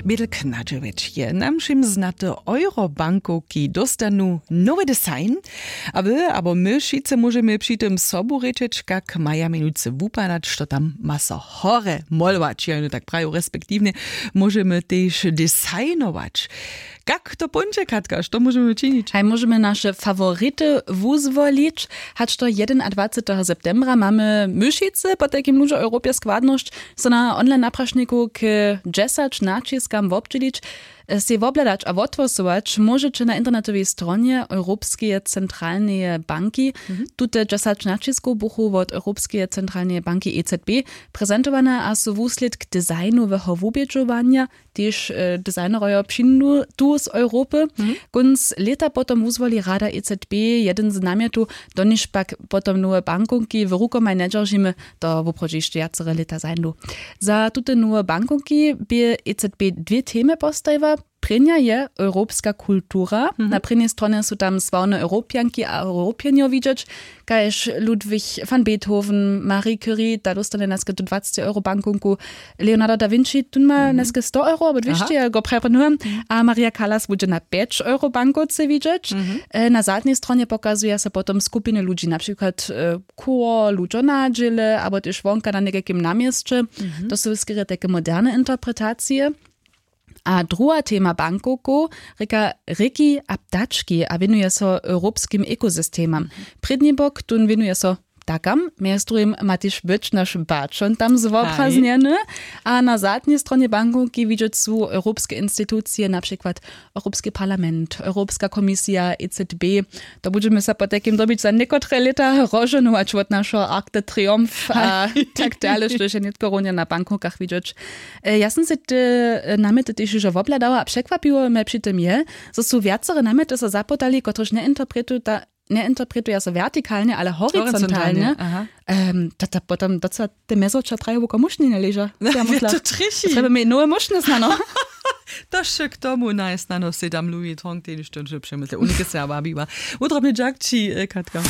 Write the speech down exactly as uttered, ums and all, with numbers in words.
Bědl knadźewjeć je nam wšěm znate, eurobankowki dóstanu nowy design. A wy abo my wšitcy móžemy při tym sobu rěčeć, kak maja měnujcy wupadać, što tam ma so horje molować, ja jeno tak prajił, respektiwnje móžemy tež designować. Kak to póńdźe, Katka, što móžemy činić? Haj, móžemy naše fawority wuzwolić. Hač do jedynadwaceteho septembra mamy my wšitcy potajkim ludźo w europje składnosć, so na online naprašniku k dźesać naćiskam wobdźělić, sej wobhladać a wothłosować móžeće na internetowej stronje europskeje centralneje banki. Tute dźesać naćiskow buchu wot europskeje centralneje banki E C B prezentowane a su wuslědk designoweho wubědźowanja. Tež designerojo přińdu tu z europy. Kónc lěta potom wuzwoli rada E C B jedyn z namjetow, doniž pak potom nowe bankownki w rukomaj njedźeržimy. To woprawdźe hišće wjacere lěta zańdu. Za tute nowe bankownki bě E C B dwě temy postajiła. Prěnja je europska kultura. Na prěnjej stronje su tam sławne europjanki a europjenjo widźeć, kaž ludwig van beethoven, marie curie, ta dóstanje naske tu dwaceći euro bankownku. Leonardo da vinci, tón ma naske sto euro abo dwěsći, ja go praje prěnujem. A maria callas budźe na pjeć euro bankowce widźeć. Na zadnjej stronje pokazuja so potom skupiny ludźi, na přikład chór, ludźo na dźěle abo tež wonka na někajkim na měsće. To su skerje tajke moderne interpretacije. A druha tema bankowkow rěka rěki a ptački a wěnuje so europskim ekosystemam. Prědni bok tón wěnuje so ptakam, mjez druhim ma tež być naš baćon tam zwobraznjeny. A na zadnjej stronje bankowki widźeć su europske institucije, na přikład europski parlament, europska komisija, E C B. To budźemy so potajkim dobić za někotre lěta rozžohnować wot našeho arc de triomphe a tak dale, štož je nětko runje na bankowkach widźeć. Ja sym sej te namjety tež hižo wobhladała a překwapiło mje při tym je, zo su wjacore namjety so zapytali, kotryž njeinterpretuja so wjertikalnje ale horizontalnje. Tata potom doca te mjezowča traje wuko mušnjenje leža. Trjebamy nowe mušnje snano. To sće k tomu najsnano sedam louis tong tež to přemysle unike se wabiła. Wudrobny dźak ći, Katka.